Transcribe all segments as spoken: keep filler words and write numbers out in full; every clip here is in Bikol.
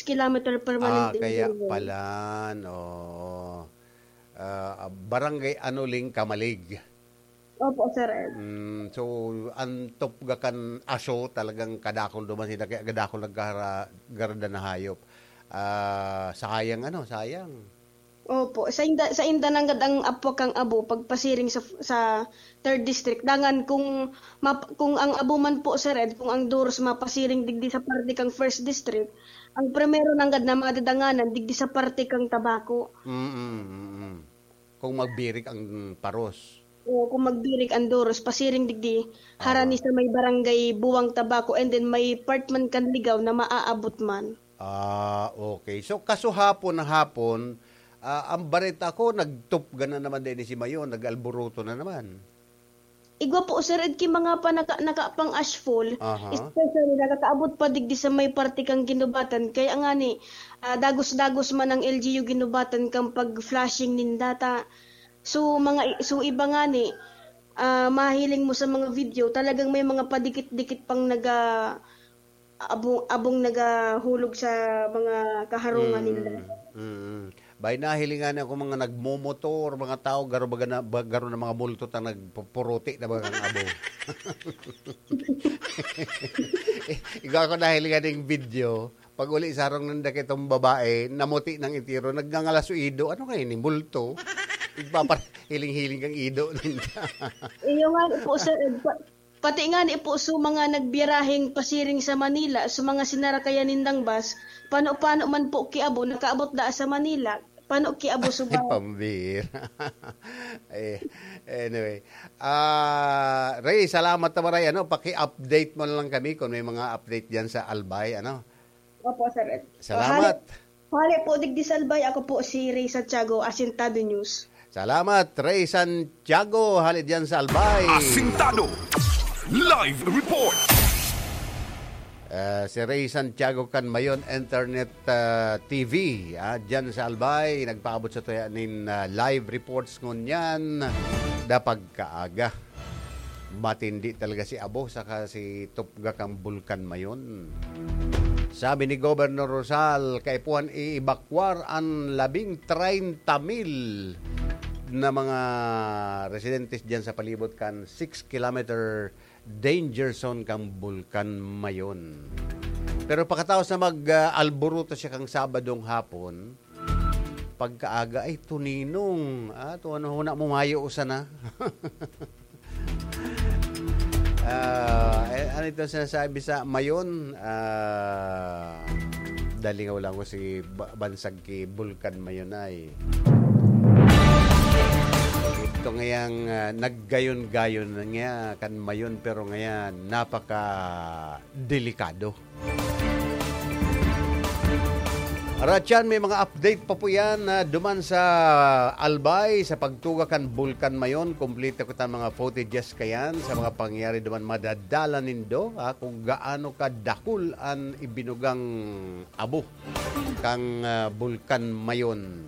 kilometer permanent Ah, kaya pala, oo. Ah, Barangay Anoling, Camalig. Opo, Sir Ed. Mm, so, ang tupga kan aso, talagang kadakol duman sila, kaya kadakol nagkara-, garda na hayop. Ah, sayang, ano, sayang. Opo, sa inda, sa inda nanggad ang apwa kang abo, pagpasiring sa, sa third district. Dangan kung map-, kung ang abo man po, Sir Ed, kung ang Duros mapasiring digdi sa parte kang first district, ang primero nanggad na madadanganan digdi sa parte kang Tabaco. Mm, mm, mm. Kung magbirik ang paros. Oo, kung magbirik ang Duros, pasiring digdi, harani Aha. sa may barangay Buwang Tabaco, and then may part man kan Ligaw na maaabot man. Ah, okay. So, kasuhapon na hapon, ah, ang bareta ko, nagtupga na naman din si Mayon, nag-alboroto na naman. Igwa po, Sir Ed, ki mga panaka-, naka pang ashfall, Aha. especially nakakaabot pa digdi sa may parte kang Ginubatan. Kaya nga ni, ah, dagos-dagos man ang L G U Ginubatan kang pag-flashing nin data. So, mga i-, so, iba nga ni, ah, mahiling mo sa mga video, talagang may mga padikit-dikit pang naga-, abong, abong nagahulog sa mga kaharungan ninda. Mm, mm. Bay, nahilingan ako mga nagmomotor, mga tao, garo baga na, ba-, garo na mga multo ta nagpupuruti na baga ang abo. Igwa ako nahilingan yung video, pag uli sa harong ng dakitong babae, namuti ng itiro, nagngangalas sa ido. Ano kayo ni multo? Igpapahiling-hiling kang ido ninda. Iyo nga po, Sir Ed. Pa-, pati nga ni po, so, mga nagbiyaraheng pasiring sa Manila, so, mga sinarakayan nindang bus, pano-pano man po kiabo, nakaabot daa sa Manila, pano kiabo Ay, suba. Pambira. Eh, anyway. Ah, Ray, salamat na maray, ano, paki-update mo na lang kami kung may mga update diyan sa Albay, ano. Opo, Sir Ed. Salamat. Hali, hali po digdi sa Albay, ako po si Ray Santiago, Asintado News. Salamat, Ray Santiago, hali diyan sa Albay. Asintado. Live report. Ah, si Ray Santiago kan Mayon Internet, ah, T V, ah, diyan sa Albay, nagpaabot sa tuya nin, ah, live reports ngunyan, da pagkaaga. Matindi talaga si abo saka si tupga kan Bulkan Mayon. Sabi ni Governor Rosal, kaipuhan i-evacuar an labing treinta mil na mga residentes diyan sa palibot kan six kilometer danger zone kan Bulkan Mayon. Pero pakataos na mag, ah, alboroto siya kang Sabadong hapon, pagkaaga, ay, tuninong. Ah, to ano, huna mo mayo usa na. Ah, eh, ano ito sinasabi sa Mayon? Ah, dalingaw lang ko si ba-, bansag ki Bulkan Mayon ay. Ito ngayang, ah, naggayon-gayon na nga kan Mayon, pero ngayon napaka delikado. Aratyan, may mga update pa po yan, ah, duman sa Albay, sa pagtuga kan Bulkan Mayon. Kompleto kita mga footages kayan sa mga pangyayari duman. Madadala nindo, ah, kung gaano kadakul an ibinugang abo kang, ah, Bulkan Mayon.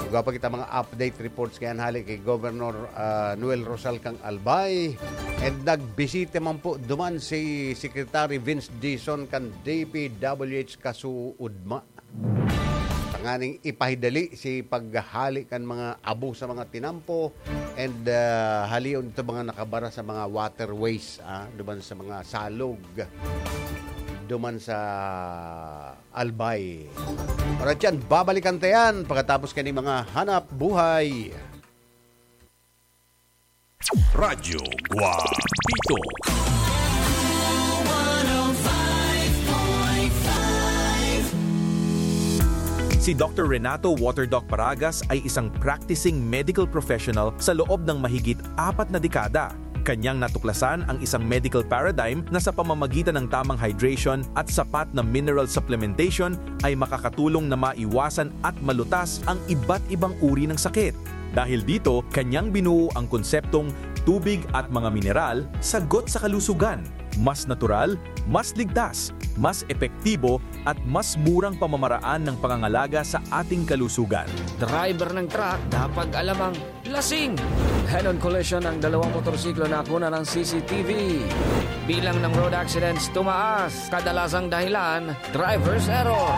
Igwa pa kita mga update reports kayan hali ki Governor, ah, Noel Rosal kang Albay. And nagbisita man po duman si Secretary Vince Dizon kan D P W H kasuodma. Tanganing ipahidali si paghahali kan mga abo sa mga tinampo and, ah, halion ito mga nakabara sa mga waterways, ah, duman sa mga salog, duman sa Albay. Alright yan, babalikan ta yan pagkatapos kani mga hanap buhay. Radyo Guapito. Si Doktor Renato Waterdoc Paragas ay isang practicing medical professional sa loob ng mahigit apat na dekada. Kanyang natuklasan ang isang medical paradigm na sa pamamagitan ng tamang hydration at sapat na mineral supplementation ay makakatulong na maiwasan at malutas ang iba't ibang uri ng sakit. Dahil dito, kanyang binuo ang konseptong tubig at mga mineral, sagot sa kalusugan. Mas natural, mas ligtas, mas epektibo, at mas murang pamamaraan ng pangangalaga sa ating kalusugan. Driver ng truck, dapat alam ang lasing. Head-on collision ng dalawang motorsiklo na kunan ng C C T V. Bilang ng road accidents tumaas. Kadalasang dahilan, driver's error.